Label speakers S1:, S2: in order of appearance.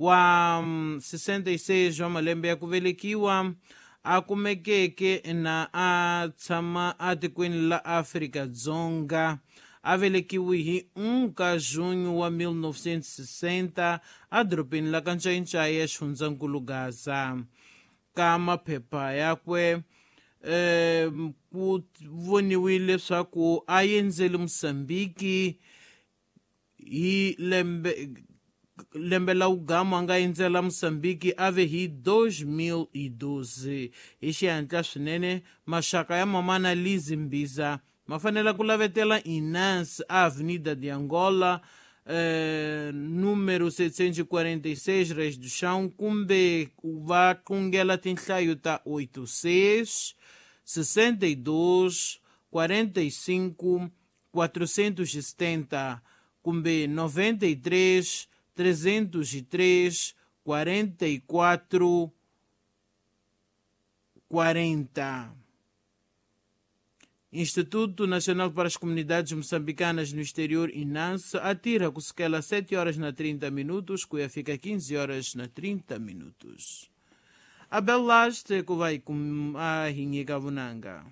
S1: Wa 66 wa malembe ya ku velekiwa, a kumekeke na a tshama atikweni la Afrika-Dzonga, a velekiwe hi 1 ka junho wa 1960 adorobeni la ka Ncayincayi ya xifundzankulu Gaza. Ka maphepha yakwe ku voniwile leswaku a endzele Mosambiki hi lembe la ugamu a nga endzela Mosambiki a ve hi 2012. Hi xihatla swinene, maxaka ya mamana Lizi Mbiza ma fanele ku lavetela Inas, Avenida de Angola, número 746, Reis do Chão, kumbe va qungela tinhlayo ta 86 62 45 470 kumbe 93 303 44 40. Instituto Nacional para as Comunidades Moçambicanas no Exterior, INANS, atira kusukela 7 horas na 30 minutos, cuia fica 15 horas na 30 minutos. Abel Laste, que vai com a Rinha Gavunanga.